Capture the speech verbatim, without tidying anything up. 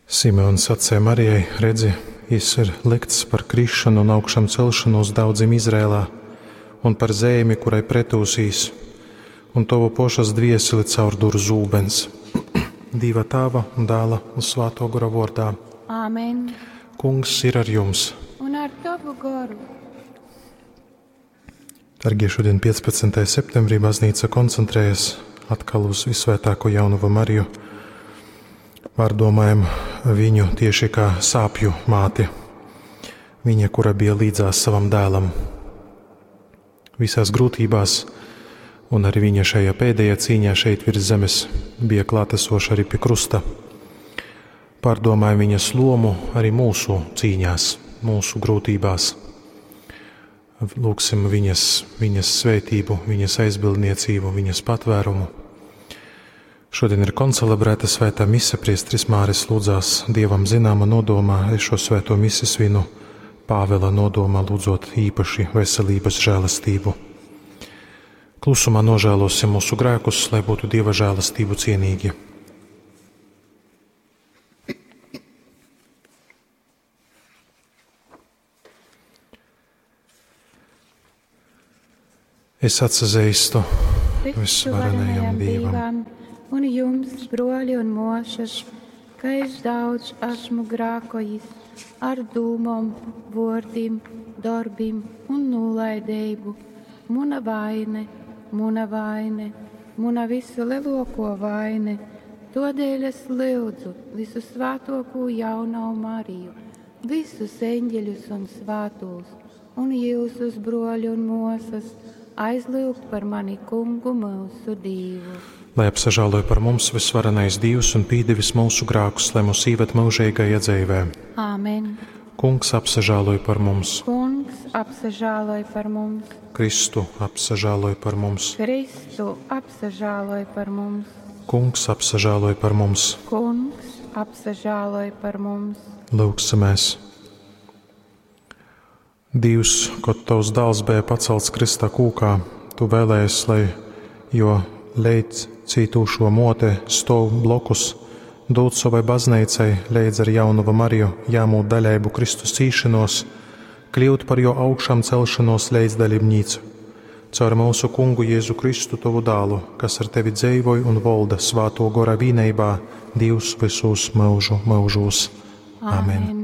Simeons sacīja Marijai: Redzi, jis ir likts par krišanu un augšām celšanos daudzim Izrēlā, un par zeimi, kurai pretūsīs, un tovu pošas dvieseli caurdur zūbens. Dīva Tāva un Dāla un Svāto Gora vordā. Āmen. Kungs ir ar jums. Un ar tavu goru. Dargie, šodien piecpadsmitajā septembrī baznīca koncentrējas atkal uz Visvētāko Jaunavu Mariju. Pārdomājam viņu tieši kā sāpju māti. Viņa, kura bija līdzās savam dēlam visās grūtībās, un arī viņa šajā pēdējā cīņā šeit virs zemes bija klātesoša arī pie krusta. Pārdomājam viņas lomu arī mūsu cīņās, mūsu grūtībās. Lūgsim viņas, viņas svētību, viņas aizbildniecību, viņas patvērumu. Šodien ir koncelebrēta svētā mise, priesteris Māris lūdzās Dievam zināma nodomā, es šo svēto misi svinu Pāvela nodomā, lūdzot īpaši veselības žēlastību. Klusumā nožēlosim mūsu grēkus, lai būtu Dieva žēlastību cienīgi. Es atsazīstu visvarenajam Dievam un jums, broļi un mošas, ka es daudz esmu grākojis ar dūmom, vōrdim, darbim un nolaidību. Muna vaine, muna vaine, muna visu lielāko vaine. Todēļ es lūdzu visu svētoko jauno Mariju, visus eņģeļus un svētos, un jūsus broļu un mosas, aizlūgt par mani kungu mūsu Dievu. Lai apsažāloja par mums visvarenais Dievs un pīdevis mūsu grākus, lai mūs īved mūžīgajā dzīvē. Āmen. Kungs apsažāloja par mums. Kungs apsažāloja par mums. Kristu apsažāloja par mums. Kristu apsažāloja par mums. Kungs apsažāloja par mums. Kungs apsažāloja par mums. Lūgsimies. Dievs, kad tavs dēls bija pacelts krista kūkā, tu vēlējies, lai jo leidz cītūšo mote stov blokus, dod savai baznīcai leidz ar jaunuvu Mariju jāmūt daļaibu Kristus cīšanos, kļūt par jo augšām celšanos leidzdaļībnīcu. Caur mūsu kungu Jēzu Kristu tovu dālu, kas ar tevi dzeivoj un volda svāto gora vīneibā, Dievs visus mūžu mūžos. Amen. Amen.